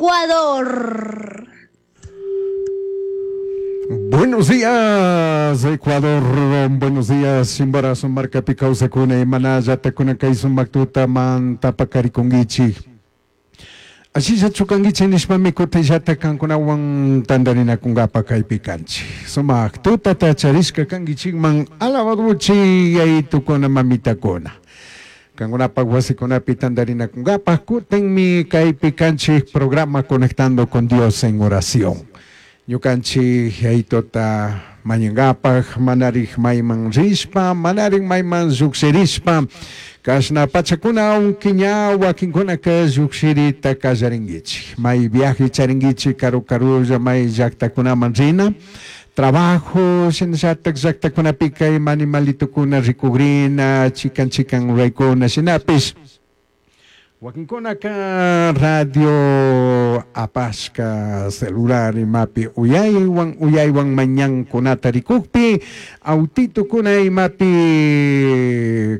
Ecuador. Buenos días, Ecuador. Buenos días, Chimborazo markapi kawsakuna imanallatacuna kay sumak tutamanta pakarikunkichik. Ashillachu kankichik nishpami kutinllata kankunawan tantarinakunkapa kaypi kanchik. Sumak tutata charishka kankichikman alabaduchi yayitukuna mamitakuna. Kankunapak wasikunapi tantarinakunkapa kutinmi kaypi kanchik programa Conectando con Dios en Oración. Ñukanchik yayituta mañankapak manarik mayman rishpa, manarik mayman llukshirishpa, kashna pachakuna aunque ña wakinkunaka llukshirita kallarinkichik. May viaje charinkichik karu karulla may llaktakunaman rina, trabajo shinallatak llaktakunapika ima animalitukuna rikugrina, chikan chikan ruraykuna shinapish. Wakinkunaka radio apashka celular imapi uyaywan uyaywan mañankunata rikukpi autitukuna imapi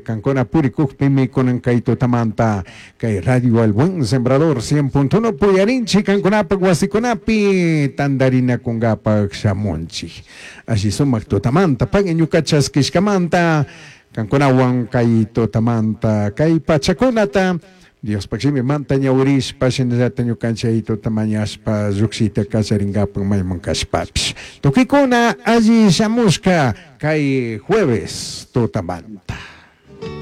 kankuna purikukpimi kunan kay tutamanta kay radio El Buen Sembrador 100.1 puyarinchik kankunapak wasikunapi tantarinakunkapak shamunchik. Alli sumak tutamanta pagui ñuka chaskishkamanta kankunawan kay tutamanta kay pachakunata Diospak shimimanta ñawirishpa shinallata ñukanchik tuta mañashpa llukshita kallarinkapak mayman kashpapish. Tukikuna alli shamushka kay jueves tutamanta.